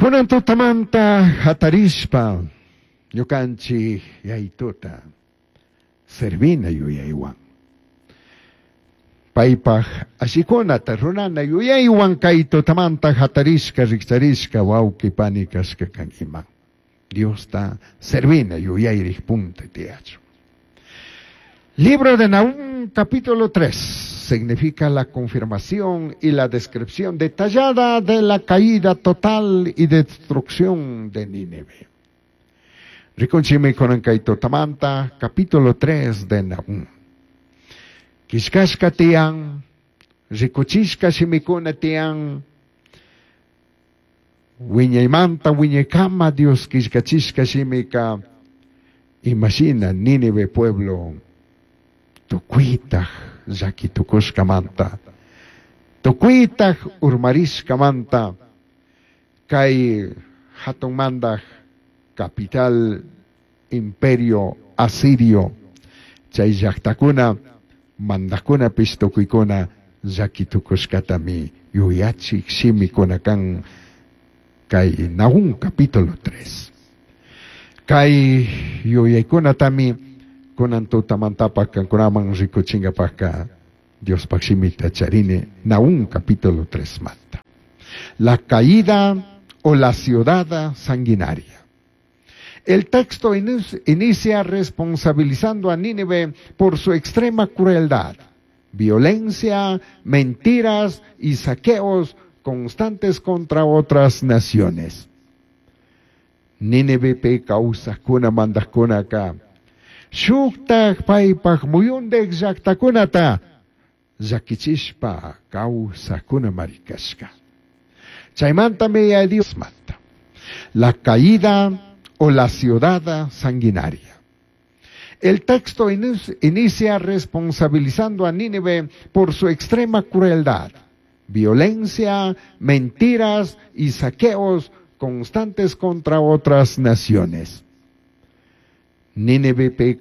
Kunan tutamanta hatarishpa ñukanchik Yayituta servina yuyaywan. Paypaj allikunata rurana yuyaywan kay tutamanta hatarishka rikcharishka wawqi pani kashka kankiman. Diosta servina yuyayrik punta tiyachun. Libro de Nahum, capítulo 3, significa la confirmación y la descripción detallada de la caída total y destrucción de Nínive. Rikunchimi kunan kay tutamanta, capítulo 3 de Nahum. Kishkashka tiyan, rikuchishka shimikuna tiyan, wiñaymanta wiñaykama Dios killkachishka shimika, imashina Nínive pueblo tukuytaj llaki tukushkamanta, tukuytaj urmarishkamanta, kay hatun mandaj capital imperio asirio, chay llaktakuna mandajkunapish tukuykuna llaki tukushkatami yuyachik shimikuna kan kay Nahum capítulo 3. Kay yuyaykunatami kunan tutamantapak kankunaman rikuchinkapakka Diospaj shimita charini Nahum capítulo 3 manta. La caída o la ciudad sanguinaria. El texto inicia responsabilizando a Nínive por su extrema crueldad, violencia, mentiras y saqueos constantes contra otras naciones. Nínive pe kawsajkuna mandajkunaka shuktaj paypaj muyundej llaktakunata llakichishpa kawsajkuna marikashka. Chaymantami Yaya Dios manta. La caída o la ciudad sanguinaria. El texto inicia responsabilizando a Nínive por su extrema crueldad, violencia, mentiras y saqueos constantes contra otras naciones. Nínive pe.